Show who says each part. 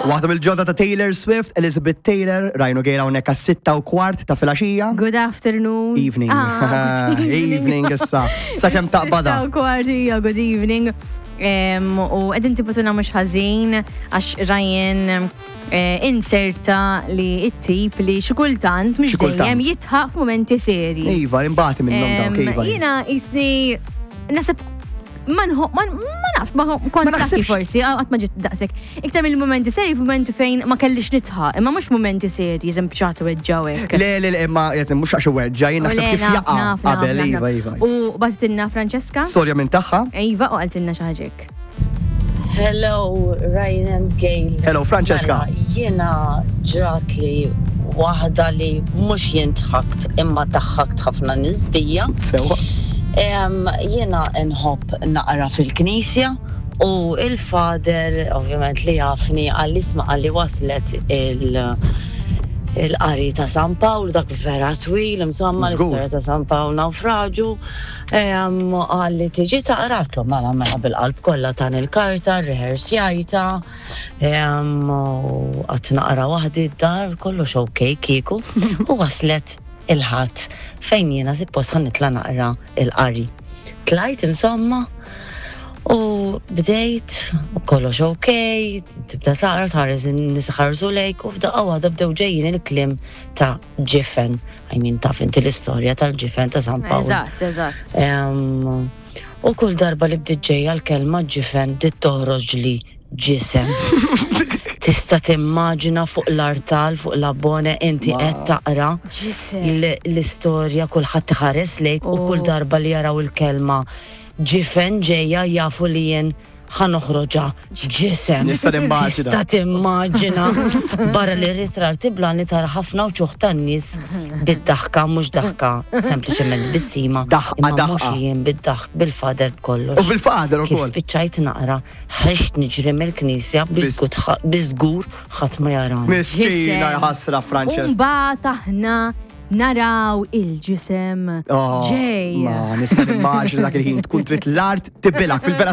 Speaker 1: Waħda mill-ġodda ta' Taylor Swift, Elizabeth Taylor, rajnu gejra hawnhekk għas-6:15 ta' filgħaxija.
Speaker 2: Good afternoon.
Speaker 1: Evening.
Speaker 2: Ah, good
Speaker 1: evening issa. Sakemm taqbada.
Speaker 2: 6:15, ija, good evening. U qegħdin tibutuna mhux ħażin għax Ryan inserta li it-tip li xi kultant mhux dejjem jitħaq f'mumenti seri.
Speaker 1: Iva, imbagħad minnhom dawk, iva.
Speaker 2: Jiena jisni nasib ma ma nafx, ma kont lucky forsi, għat ma ġiet daqsek. Iktar mill-momenti seri, momenti fejn ma kellix nitħaq, imma mhux momenti seri, eżempju ċaħtu weġġaw hekk.
Speaker 1: Le, le, le, imma jgħid mhux għax weġġa, jien naħseb kif jaqa' qabel, iva, iva.
Speaker 2: U bagħtitilna Francesca.
Speaker 1: Storja minn tagħha.
Speaker 2: Iva, u qaltilna xi ħaġa hekk.
Speaker 3: Hello, Ryan and Gail.
Speaker 1: Hello, Francesca.
Speaker 3: Mela, jiena ġrat li waħda li mhux jien dħakt imma daħħakt ħafna nies bija.
Speaker 1: Sewa.
Speaker 3: Jiena nħobb naqra fil-knisja u il-father ovvjament li jafni qalli isma' qalli waslet il- il-qari ta' San Pawl dak vera twil insomma l-istorja ta' San Pawl nawfraġu. Qal li tiġi taqra għatlu mela mela bil-qalb kollha tan il-karta, rehearsjajta, u qatt naqra waħdi d-dar kollox ok kieku u waslet il-Ħadd fejn jiena suppost ħa nitla' naqra il-qari. Tlajt insomma u bdejt u kollox ok, tibda taqra tħares in-nies iħarsu lejk u f'daqqa waħda bdew ġejjin il-kliem ta' ġifen. I mean, taf inti l-istorja tal-ġifen ta' San Pawl.
Speaker 2: Eżatt, eżatt.
Speaker 3: U kull darba li bdiet ġejja l-kelma ġifen bdiet toħroġ li ġisem. Tista' timmaġina fuq l-artal, fuq l-abbone, inti qed taqra l-istorja kulħadd iħares lejk u kull darba li jaraw il-kelma ġifen ġejja jafu li jien ħa noħroġha ġisem.
Speaker 1: Nista' nimmaġina.
Speaker 3: Tista' timmaġina. Barra li r-ritrar tiblani tara ħafna wċuħ tan-nies bid-daħka mhux daħka sempliċement bissima.
Speaker 1: Daħqa
Speaker 3: Imma
Speaker 1: daħqa.
Speaker 3: mhux jien bid-daħk bil-fader b'kollox.
Speaker 1: U bil-fader
Speaker 3: Kif
Speaker 1: ukoll.
Speaker 3: spiċċajt naqra, ħriġt niġri mill-knisja biex biżgur ħadd ma jarani.
Speaker 1: Miskina ħasra Frances.
Speaker 2: U mbagħad aħna naraw il-ġisem
Speaker 1: Oh,
Speaker 2: ġej.
Speaker 1: Ma nista' nimmaġina dak il-ħin tkun trid l-art tibilak fil-vera.